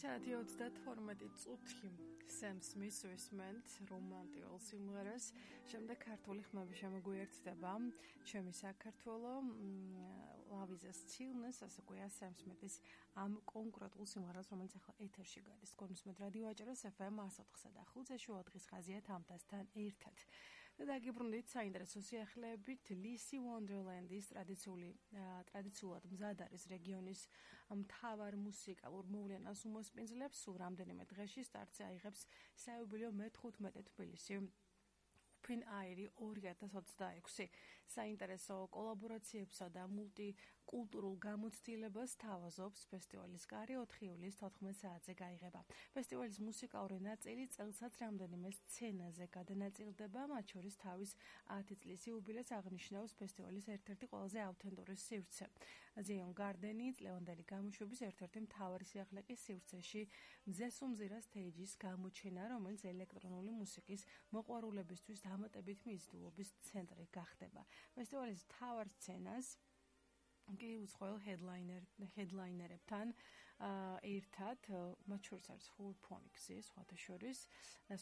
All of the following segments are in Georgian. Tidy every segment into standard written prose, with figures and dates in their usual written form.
საათი 32 წუთი სემ სმითს ვისმენთ რომანტიკულ სიმღერას. შემდეგ ქართული ხმები შემოგვიერთდება. ჩემი საქართველო ლავიზას ცილნეს, ასე ქვია სემ სმითის ამ კონკრეტულ სიმღერას, რომელიც ახლა ეთერში გადის. კონსმეთ რადიო აჭარას FM 104-სა და 5-ზე შუა დღის ხაზია თამთასთან ერთად. და დაგიბრუნდით საინტერესო სიახლეებით ლისი ვონდერლენდის ტრადიციულად მზად არის რეგიონის მთავარ მუსიკალურ მოვლენას უმოსპინძლებს. სულ რამდენიმე დღეში სტარტზე აიღებს საიუბილეო მე-15 თბილისი Open Air 2026 საინტერესო კოლაბორაციებსა და მულტიკულტურულ გამოცდილებას თავაზობს ფესტივალის კარი 4 ივლისის 14 საათზე გაიღება. ფესტივალის მუსიკალური ნაწილი წელსაც რამდენიმე სცენაზე გადანაწილდება, მათ შორის თავის 10 წლის იუბილეს აღნიშნავს ფესტივალის ერთ-ერთი ყველაზე ავთენტური სივრცე. ზიონ გარდენი წლევანდელი გამოშვების ერთ-ერთი მთავარი სიახლე კი სივრცეში მზესუმზირა სტეიჯის გამოჩენა, რომელიც ელექტრონული მუსიკის მოყვარულებისთვის დამატებით მიზიდულობის ცენტრი გახდება. ფესტივალის მთავარ სცენას კი უცხოელ ჰედლაინერებთან ერთად, მათ შორის არის ფულფონიქსი, სხვათა შორის,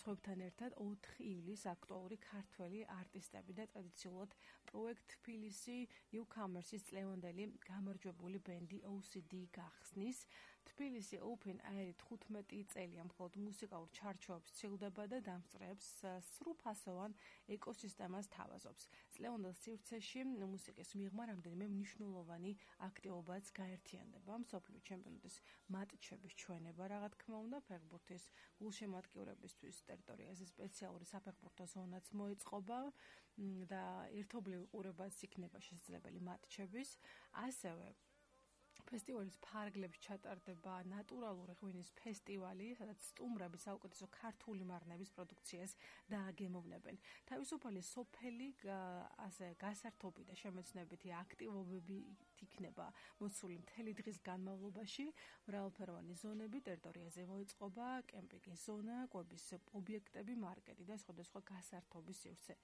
სხვებთან ერთად 4 ივლისს აქტუალური ქართველი არტისტები და ტრადიციულად პროექტ თბილისი Newcomers's წლევანდელი გამარჯვებული ბენდი OCD გახსნის. თბილისი Open Air 15 წელია მხოლოდ მუსიკალურ ჩარჩოებს ცილდება და დამსწრეებს სრულფასოვან ეკოსისტემას თავაზობს. წლევანდელ სივრცეში მუსიკის მიღმა რამდენიმე მნიშვნელოვანი აქტივობაც გაერთიანდება. მსოფლიო ჩემპიონატის მატჩების ჩვენება, რა თქმა უნდა, ფეხბურთის გულშემატკივრებისთვის ტერიტორიაზე სპეციალური საფეხბურთო ზონაც მოეწყობა და ერთობლივი ყურებაც იქნება შესაძლებელი მატჩების. ასევე ფესტივალის ფარგლებში ჩატარდება ნატურალური ღვინის ფესტივალი, სადაც სტუმრები საუკეთესო ქართული მარნების პროდუქციას დააგემოვნებენ. თავისუფალი სოფელი, ასე გასართობი და შემეცნებითი აქტივობები იქნება მოსული მთელი დღის განმავლობაში. მრავალფეროვანი ზონები ტერიტორიაზე მოეწყობა, კემპინგის ზონა, კვების ობიექტები, მარკეტი და სხვადასხვა გასართობის სივრცე.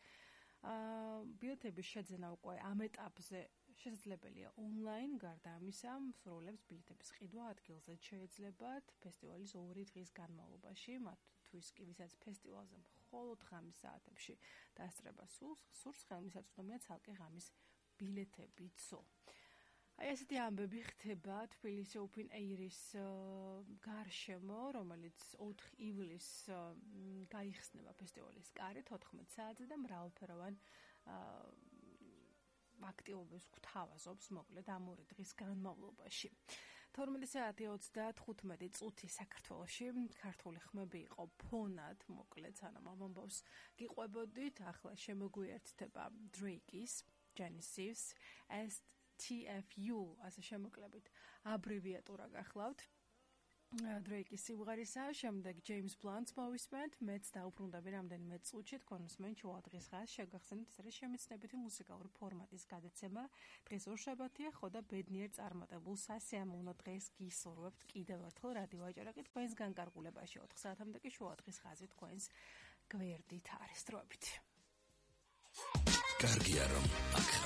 ბილეთების შეძენა უკვე ამ ეტაპზე შესაძლებელია ონლაინ, გარდა ამისა, მსურველებს ბილეთების ყიდვა ადგილზე შეეძლებათ ფესტივალის 2 დღის განმავლობაში, მათთვის კი ვისაც ფესტივალზე მხოლოდ ღამის საათებში დასწრება სურს, ხელმისაწვდომია ცალკე ღამის ბილეთებიცო. აი ესეთი ამბები ხდება თბილისი Open Air-ის გარშემო, რომელიც 4 ივლისს გაიხსნება ფესტივალის კარი 14 საათზე და მრავალფეროვან აქტივობებს გვთავაზობს მოკლედ ამ 2 დღის განმავლობაში. 12 საათი 35 წუთი საქართველოში ქართული ხმები იყო ფონად, მოკლედ სანამ ამ ამბავს გიყვებოდით, ახლა შემოგვიერთდება Drake-ის, Genesis, TFU, ასე შემოკლებით აბრევიატურა გახლავთ. Drake-ის სიმღერისა, შემდეგ James Blunt-ს მოვისმენთ, მეც დაუბრუნდები რამდენიმე წუთში თქვენს შუა დღის ხაზს შეგახსენებთ, ეს არის შემეცნებითი მუსიკალური ფორმატის გადაცემა. დღეს ორშაბათია, ხო და ბედნიერ წარმატებულ სასიამოვნო დღეს გისურვებთ კიდევ ერთხელ რადიო აჭარაკი თქვენს განკარგულებაში 4 საათამდე კი შუა დღის ხაზი თქვენს გვერდით არის დროებით. კარგია რომ აქ ხარ.